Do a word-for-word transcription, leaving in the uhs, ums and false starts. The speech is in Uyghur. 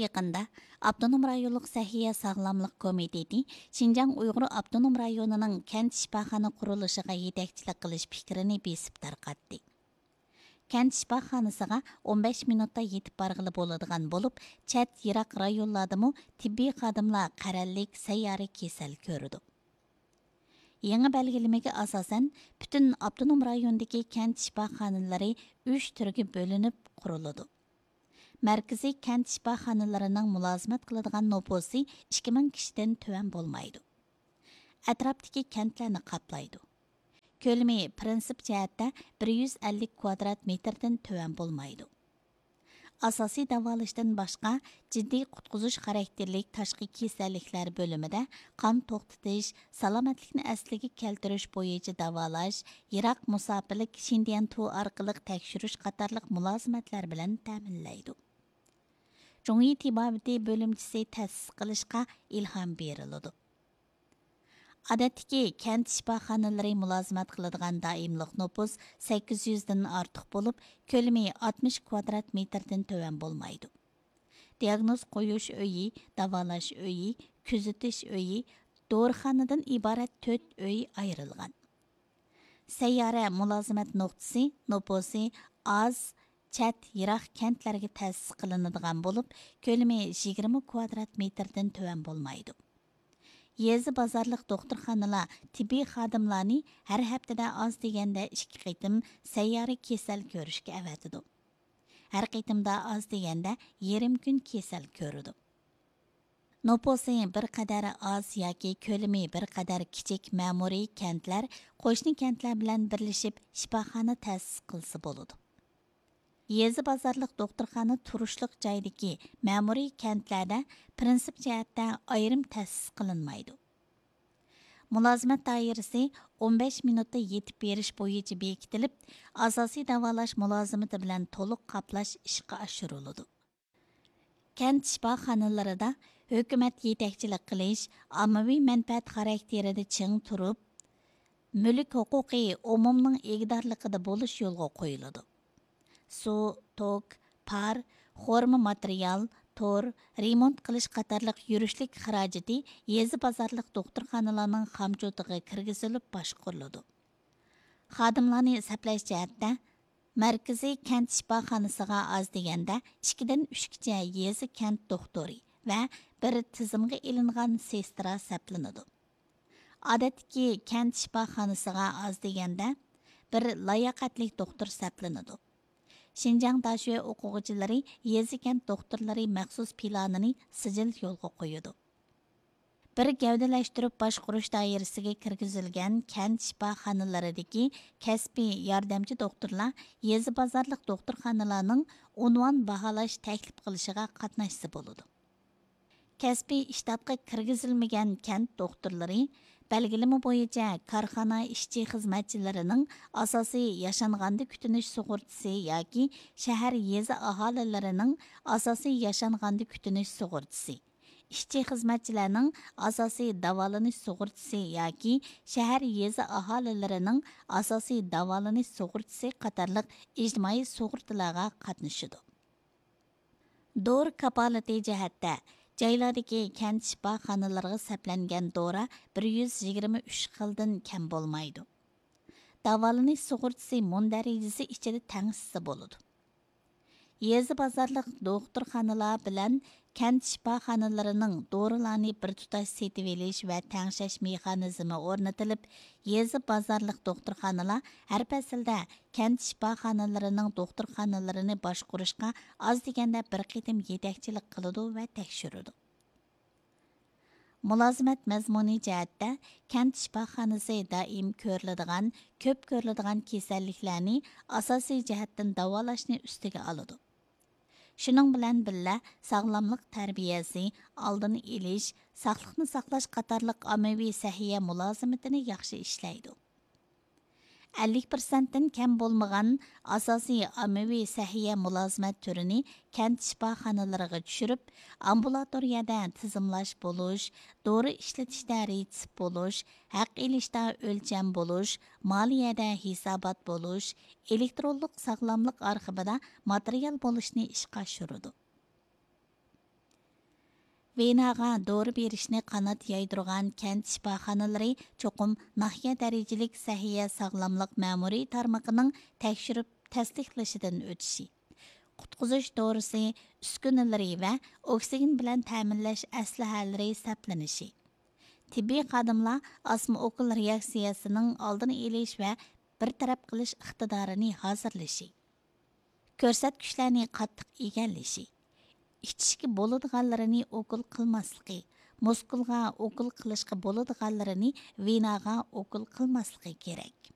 يېقىندا ئاپتونوم رايونلۇق سەھىيە ساغلاملىق كومىتېتى شىنجاڭ ئۇيغۇر ئاپتونوم رايونىنىڭ كەنت شىپاخانا قۇرۇلۇشىغا يېتەكچىلىك قىلىش پىكرىنى بېسىپ تارقاتتى. كەنت شىپاخانىسىغا ئون بەش مىنۇتتا يېتىپ بارغىلى بولىدىغان بولۇپ، چەت، يىراق رايونلاردىمۇ تېببىي خادىملار قەرەللىك سەييارە كېسەل كۆرىدۇ. يېڭى بەلگىلىمىگە ئاساسەن، پۈتۈن ئاپتونوم رايوندىكى كەنت شىپاخانىلىرى ئۈچ تۈرگە بۆلۈنۈپ قۇرۇلىدۇ. مەركىزىي كەنت شىپاخانىلىرىنىڭ مۇلازىمەت قىلىدىغان نوپۇسى ئىككى مىڭ كىشىدىن تۆۋەن بولمايدۇ. ئەتراپتىكى كەنتلەرنى قاپلايدۇ. كۆلىمى پىرىنسىپ جەھەتتە بىر يۈز ئەللىك كۋادرات مېتىردىن تۆۋەن بولمايدۇ. ئاساسىي داۋالاشتىن باشقا، جىددىي قۇتقۇزۇش خاراكتېرلىك تاشقى كېسەللىكلەر بۆلۈمىدە قان توختىتىش، سالامەتلىكنى ئەسلىگە كەلتۈرۈش بويىچە داۋالاش، يىراق مۇساپىلىك شىنديەنتۇ ئارقىلىق تەكشۈرۈش قاتارلىق مۇلازىمەتلەر بىلەن تەمىنلەيدۇ. جۇڭيى تېبابىتى بۆلۈمچىسى تەسىس قىلىشقا ئىلھام بېرىلىدۇ. ئادەتتىكى كەنت شىپاخانىلىرى مۇلازىمەت قىلىدىغان دائىملىق نوپۇس سەككىز يۈزدىن ئارتۇق بولۇپ، كۆلىمى ئاتمىش كۋادرات مېتىردىن تۆۋەن بولمايدۇ. دىئاگنوز قويۇش ئۆيى، داۋالاش ئۆيى، كۆزىتىش ئۆيى، دورىخانىدىن ئىبارەت تۆت ئۆي ئايرىلغان. سەييارە مۇلازىمەت نۇقتىسى نوپۇسى ئاز، چەت، يىراق كەنتلەرگە تەسىس قىلىنىدىغان بولۇپ، كۆلىمى يىگىرمە كۋادرات مېتىردىن تۆۋەن بولمايدۇ. يېزا بازارلىق دوختۇرخانىلار تېببىي خادىملارنى ھەر ھەپتىدە ئاز دېگەندە ئىككى قېتىم سەييارە كېسەل كۆرۈشكە ئەۋەتىدۇ. ھەر قېتىمدا ئاز دېگەندە يېرىم كۈن كېسەل كۆرىدۇ. نوپۇسى بىر قەدەر ئاز ياكى كۆلىمى بىر قەدەر كىچىك مەمۇرىي كەنتلەر قوشنا كەنتلەر بىلەن بىرلىشىپ شىپاخانا تەسىس قىلسا بولىدۇ. يېزا بازارلىق دوختۇرخانا تۇرۇشلۇق جايدىكى مەمۇرىي كەنتلەردە پىرىنسىپ جەھەتتە ئايرىم تەسىس قىلىنمايدۇ. مۇلازىمەت دائىرىسى ئون بەش مىنۇتتا يېتىپ بېرىش بويىچە بېكىتىلىپ، ئاساسىي داۋالاش مۇلازىمىتى بىلەن تولۇق قاپلاش ئىشقا ئاشۇرۇلىدۇ. كەنت شىپاخانىلىرىدا ھۆكۈمەت يېتەكچىلىك قىلىش، ئاممىۋى مەنپەئەت خاراكتېرىدە چىڭ تۇرۇپ، مۈلۈك ھوقۇقى ئومۇمنىڭ ئىگىدارلىقىدا بولۇش يولغا قويۇلىدۇ. سۇ، توك، پار، خورما ماتېرىيال، تور، رېمونت قىلىش قاتارلىق يۈرۈشلۈك خىراجىتى يېزا بازارلىق دوختۇرخانىلارنىڭ خامچوتىغا كىرگۈزۈلۈپ باشقۇرۇلىدۇ. خادىملارنى سەپلەش جەھەتتە، مەركىزىي كەنت شىپاخانىسىغا ئاز دېگەندە ئىككىدىن ئۈچكىچە يېزا كەنت دوختۇرى ۋە بىر تىزىمغا ئېلىنغان سېسترا سەپلىنىدۇ. ئادەتتىكى كەنت شىپاخانىسىغا ئاز دېگەندە بىر لاياقەتلىك دوختۇر سەپلىنىدۇ. شىنجاڭ داشۆ ئوقۇغۇچىلىرى يېزا كەنت دوختۇرلىرى مەخسۇس پىلانىنى سىجىل يولغا قويىدۇ. بىر گەۋدىلەشتۈرۈپ باشقۇرۇش دائىرىسىگە كىرگۈزۈلگەن كەنت شىپاخانىلىرىدىكى كەسپىي ياردەمچى دوختۇرلار يېزا بازارلىق دوختۇرخانىلارنىڭ ئۇنۋان باھالاش تەكلىپ قىلىشىغا قاتناشسا بولىدۇ. كەسپىي ئىشتاتقا كىرگۈزۈلمىگەن كەنت دوختۇرلىرى بەلگىلىمە بويىچە كارخانا ئىشچى خىزمەتچىلىرىنىڭ ئاساسىي ياشانغاندا كۈتۈنۈش سۇغۇرتىسى ياكى شەھەر يېزا ئاھالىلىرىنىڭ ئاساسىي ياشانغاندا كۈتۈنۈش سۇغۇرتىسى، ئىشچى خىزمەتچىلەرنىڭ ئاساسىي داۋالىنىش سۇغۇرتىسى ياكى شەھەر يېزا ئاھالىلىرىنىڭ ئاساسىي داۋالىنىش سۇغۇرتىسى قاتارلىق ئىجتىمائىي سۇغۇرتىلارغا قاتنىشىدۇ. دورا كاپالىتى جەھەتتە، جايلاردىكى كەنت شىپاخانىلىرىغا سەپلەنگەن دورا بىر يۈز يىگىرمە ئۈچ خىلدىن كەم بولمايدۇ. داۋالىنىش سۇغۇرتىسى مۇندەرىجىسى ئىچىدە تەڭشىسە بولىدۇ. يېزا بازارلىق دوختۇرخانىلار بىلەن كەنت شىپاخانىلىرىنىڭ دورىلارنى بىر تۇتاش سېتىۋېلىش ۋە تەڭشەش مېخانىزمى ئورنىتىلىپ، يېزا بازارلىق دوختۇرخانىلار ھەر پەسىلدە كەنت شىپاخانىلىرىنىڭ دوختۇرخانىلىرىنى باشقۇرۇشقا ئاز دېگەندە بىر قېتىم يېتەكچىلىك قىلىدۇ ۋە تەكشۈرىدۇ. مۇلازىمەت مەزمۇنى جەھەتتە، كەنت شىپاخانىسى دائىم كۆرۈلىدىغان، كۆپ كۆرۈلىدىغان كېسەللىكلەرنى ئاساسىي جەھەتتىن داۋالاشنى ئۈستىگە ئالىدۇ. شۇنىڭ بىلەن بىللە، ساغلاملىق تەربىيەسى، ئالدىنى ئېلىش، ساقلىقنى ساقلاش قاتارلىق ئاممىۋى سەھىيە مۇلازىمىتىنى ياخشى ئىشلەيدۇ. ئەللىك پىرسەنتتىن كەم بولمىغان ئاساسىي ئاممىۋى سەھىيە مۇلازىمەت تۈرىنى كەنت شىپاخانىلىرىغا چۈشۈرۈپ، ئامبۇلاتورىيەدە تىزىملاش بولۇش، دورا ئىشلىتىشتە رېتسېپ بولۇش، ھەق ئېلىشتا ئۆلچەم بولۇش، مالىيەدە ھېسابات بولۇش، ئېلېكترونلۇق ساغلاملىق ئارخىپىدا ماتېرىيال بولۇشنى ئىشقا ئاشۇرىدۇ. ۋېناغا دورا بېرىشنى قانات يايدۇرغان كەنت شىپاخانىلىرى چوقۇم ناھىيە دەرىجىلىك سەھىيە ساغلاملىق مەمۇرىي تارمىقىنىڭ تەكشۈرۈپ تەستىقلىشىدىن ئۆتۈشى، قۇتقۇزۇش دورىسى ئۈسكۈنىلىرى ۋە ئوكسىگېن بىلەن تەمىنلەش ئەسلىھەلىرى سەپلىنىشى، تېببىي خادىملار ئاسما ئوكۇل رېئاكسىيەسىنىڭ ئالدىنى ئېلىش ۋە بىر تەرەپ قىلىش ئىقتىدارىنى ھازىرلىشى، كۆرسەتكۈچلەرنى قاتتىق ئىگىلىشى، ئىچىشكە بولىدىغانلىرىنى ئوكۇل قىلماسلىقى، مۇسكۇلغا ئوكۇل قىلىشقا بولىدىغانلىرىنى ۋېناغا ئوكۇل قىلماسلىقى كېرەك.